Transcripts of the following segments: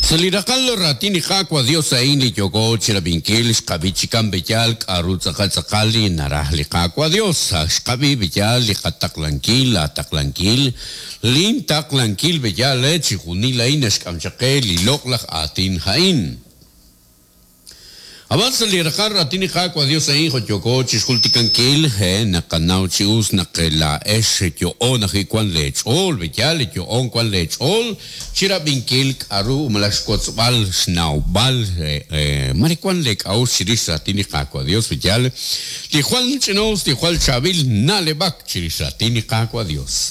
Sa' li raqal raatin li Qaawa' Dios a'in li yooko chirab'inkil, xqab'i chikan b'eyal k'a'ru tz'aqal tz'aqal li naraj li Qaawa' Dios. Xqab'i b'eyal li qataqlankil, laataqlankil, lin taqlankil b'eyal chixjunil a'in naxk'am chaq qe li loq'laj aatin a'in. Ab'an sa' li raqal raatin li Qaawa' Dios a'in jo' yooko chixjultikankil, he, naqanaw chi us naq laa'ex yo'oon ajwi' wan lee ch'ool, b'eyaal li yo'oon wan lee ch'ool chirab'inkil k'a'ru malaj xwotzb'al xnawb'al, mare wan lee k'a'uxl chirix raatin li Qaawa' Dios, b'eyaal li jwal ch'ina-us, li jwal chaab'il na'leb'ak chirix raatin li Qaawa' Dios.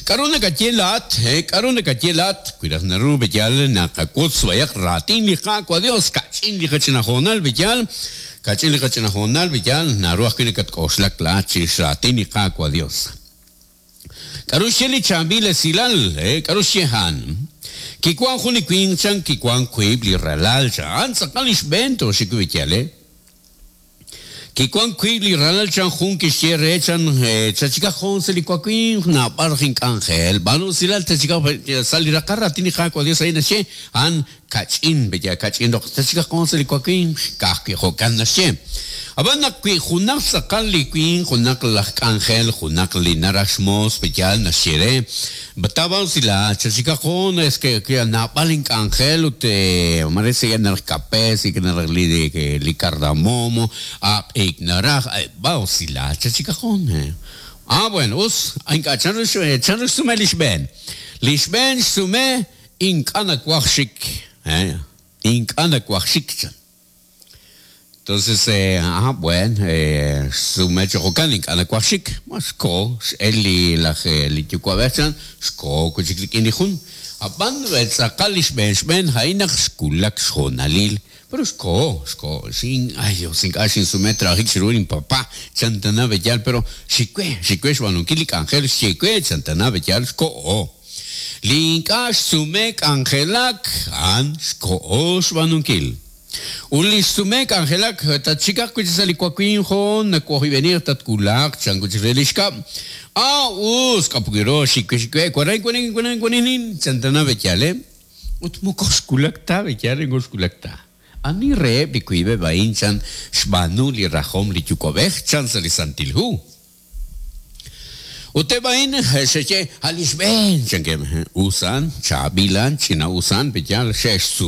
K'a'ru nakaye laa'at? He, k'a'ru nakaye laa'at? Wi raj naru b'eyal naqawotz b'ayaq raatin li Qaawa' Dios, ka'ch'in li qach'ina hoonal b'eyal, ka'ch'in li qach'ina hoonal b'eyal, naru ajwi' nakatk'oxlak laa'at chirix raatin li Qaawa' Dios. K'a'ru xye li chaab'il esilal? He, k'a'ru xye a'an? Kiwan jun li winq chan, kiwan wiib' li ralal chan. A'an tz'aqal li xb'een tooxik wi' b'eyal, he. Kiwank wiib' li ralal chan jun kixye re chan, Chachikaq jun sa' li wawimq, naab'al raj ink'anjel. B'aanu usilal chachikaq sa' li raqal raatin li Qaawa' Dios a'in naxye, a'an kach'in, b'eya kach'in roq, chachikaq jun sa' li wawimq, ka'ajwi' jo'kan naxye. Ab'an naq wi junaq tz'aqal li winq, junaq laj k'anjel, junaq li naraj xmoos, b'eyaal naxye re, B'tawa usilal, chachikaq jun, es que naab'al ink'anjel ut mare sik'eb' naraj kape, sik'eb' naraj li cardamomo, aq'ik naraj, b'a usilal, chachikaq jun. Ah, bueno, us, ink'a' chanru chanru xsume li xb'een. Li xb'een xsume ink'a' nawaj xik, ink'a' nawaj xik, chan. Entonces, ah, bueno, xsume chi jo'kan, ink'a' nawaj xik. Ma xkoho, x'el li laj li yuwa'b'ej chan, xkoho wi' chik rik'in li jun. Ab'an tz'aqal li xb'een xb'een a'in naq xwulak xhoonalil, pero xkoho, xkoho, xin, ay Dios, ink'a' xinsume trajik chiru linpapá, chan tana b'eyal, pero xik we, xik we xb'aanunkil li k'anjel xye we, chan tana b'eyal, xkoho. Li ink'a' xsume k'anjelak, a'an xkoho xb'aanunkil. Ut li xsume k'anjelak, tatxikaq wi' chik sa' li wawimq hoon, nawohib'enij tatwulaq, chan wi' chik re li xkab'. A us, k'apukiro, xik we xik we, waran wanin waran waninin, chan tana b'eyal, eh. Ut moko xwulak ta b'eyal, moko xwulak ta. Ani reheb' li wiib'eb' a'in chan xb'aanu li rajom li Yuwa'b'ej, chan sa' li Santil Hu. Ut eb' a'in xe'xye, A' li xb'een, chankeb'. Us a'an, chaab'il a'an, ch'ina'us a'an, b'eyal, xe'xsume.